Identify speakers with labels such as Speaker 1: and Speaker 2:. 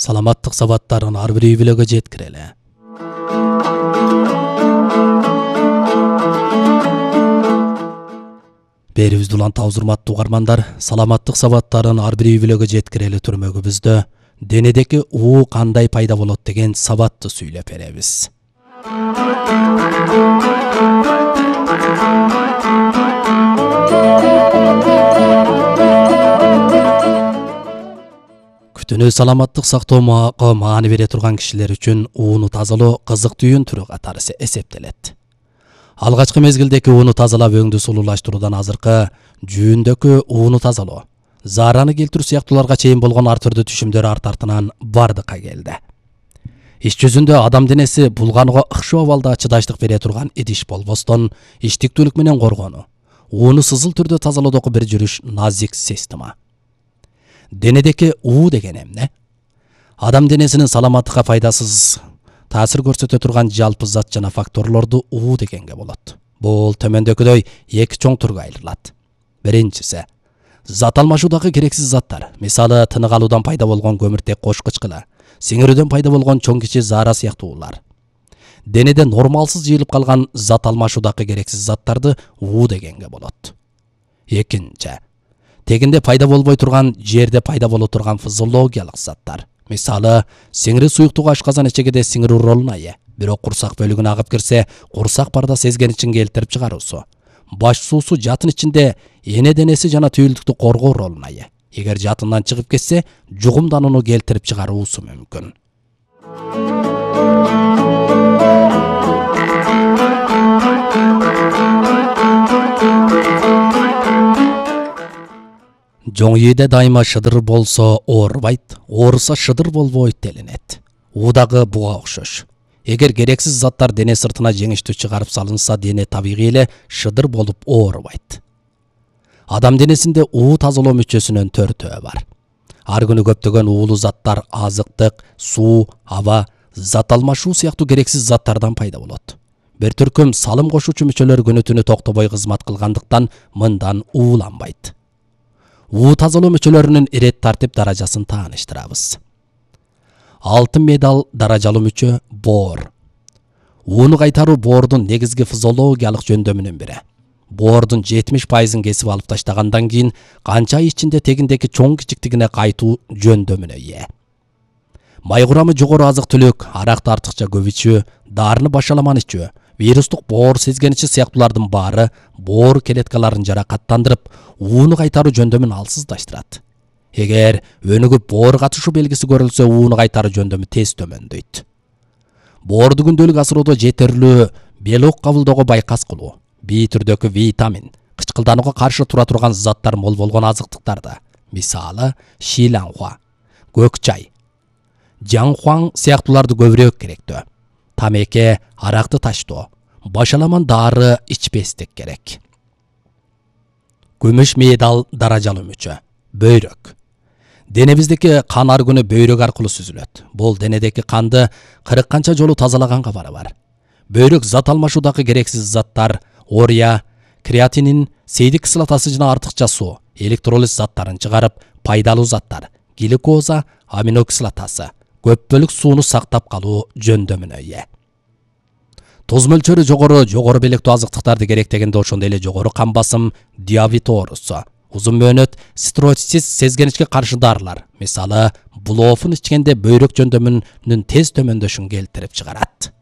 Speaker 1: саламаттык сабаттарын ар бир үй-бүлөгө жеткирели. Берибизди улантабыз урматтуу угармандар, саламаттык сабаттарын ар бир үй-бүлөгө жеткирели түрмөгүбүздө денедеки уу кандай пайда болот деген сабатты сүйлөп беребиз. Күтүүнү саламаттык сактоого маани бере турган кишилер үчүн ууну тазалоо кызыктүүнүн түрү катары эсептелет. Алгачкы мезгилдеки ууну тазалап өңдү сулуулаштыруудан азыркы жүүндөгү ууну тазалоо, заараны келтирүү сыяктууларга чейин болгон ар түрдүү түшүмдөр арт артынан бардыкка келди. Иш жүзүндө адам денеси булганууга ыкшоо абалда чыдаштык бере турган идиш болбостон, иштиктүүлүк менен коргонуу, ууну сызыл түрдө тазалоодогу бир жүрүш назик система. Денедеки уу деген эмне? Адам денесинин саламаттыкка пайдасыз таасир көрсөтө турган жалпы зат жана факторлорду уу дегенге болот. Бул төмөндөгүдөй эки чоң түргө айрылат. Биринчиси зат алмашуудагы керексиз заттар, мисалы тынык алуудан пайда болгон көмүртек кош кычкылы, сиңирүүдөн пайда болгон чоң кичи заара сыяктуулар. Денеде нормалсыз жыйылып калган зат алмашуудагы керексиз заттарды уу дегенге болот. Экинчи тегинде пайда болбой турган, жерде пайда боло турган физиологиялык заттар. Мисалы, сиңири суюктугу ашказан ичегиде сиңирүү ролуна ээ, бирок курсак бөлүгүнө агып кирсе, курсак барда сезгеничин келтирип чыгаруусу. Баш суусу жатын ичинде эне денеси жана түйүлдүктү коргоо ролуна ээ. Эгер жатындан чыгып кетсе, жугумданууну келтирип чыгаруусу мүмкүн. Жоң ийде дайыма шыдыр болсо оорубайт, ооруса шыдыр болбойт делинет. Уу дагы буга окшош. Эгер керексиз заттар дене сыртына жеңиштүү чыгарып салынса, дене табигый эле шыдыр болуп оорубайт. Адам денесинде уу тазалоо мүчөсүнүн төртөө бар. Ар күнү көптөгөн уулуу заттар азыктык, суу, аба, зат алмашуу сыяктуу керексиз заттардан пайда болот. Бир түркүм салым кошуучу мүчөлөр күнү түнү токтобой кызмат кылгандыктан мындан ууланбайт. Уу тазалоо мүчөлөрүнүн ирет тартип даражасын тааныштырабыз. Алтын медал даражалуу мүчө боор. Ууну кайтаруу боордун негизги физиологиялык жөндөмүнүн бири. Боордун 70%-ын кесип алып таштагандан кийин канча ай ичинде тегиндеки чоң кичиктигине кайтуу жөндөмүнө ээ. Май курамы жогору азык-түлүк, аракты артыкча көп ичүү, дарыны башаламан ичүү, вирустук боор сезгеничи сыяктуулардын баары боор клеткаларын жаракаттандырып, ууну кайтаруу жөндөмүн алсыздаштырат. Эгер өнүгүп боор катышуу белгиси көрүлсө, ууну кайтаруу жөндөмү тез төмөндөйт. Боорду күндөлүк асыроодо жетерлүү белок кабылдоого байкас кылуу, B түрдөгү витамин, кычкылданууга каршы тура турган заттар мол болгон азыктыктарды, мисалы шиланхуа, көк чай, жаңхуаң сыяктууларды көбүрөөк керектөө. Тамеке, аракты таштоо, башаламан дары ичпестик керек. Күмүш медал даражалуу мүчө бөйрөк. Денебиздеки кан ар күнү бөйрөк аркылуу сүзүлөт. Бул денедеки канды 40 канча жолу тазалаган кабары бар. Бөйрөк зат алмашуудагы керексиз заттар, ория, креатинин, сейдик кислотасы жана артыкча суу, электролиз заттарын чыгарып, пайдалуу заттар, глюкоза, аминокислотасы, көп бөлүк сууну сактап калуу жөндөмүнө ээ. Туз мөлчөрү жогору белектүү азыктыктарды керектегенде ошондой эле жогору кан басым, диабет оорусу, узун мөөнөт стероидсиз сезгеничке каршы дарылар, мисалы булоофун ичкенде бөйрөк жөндөмүнүн тез төмөндөшүн келтирип чыгарат.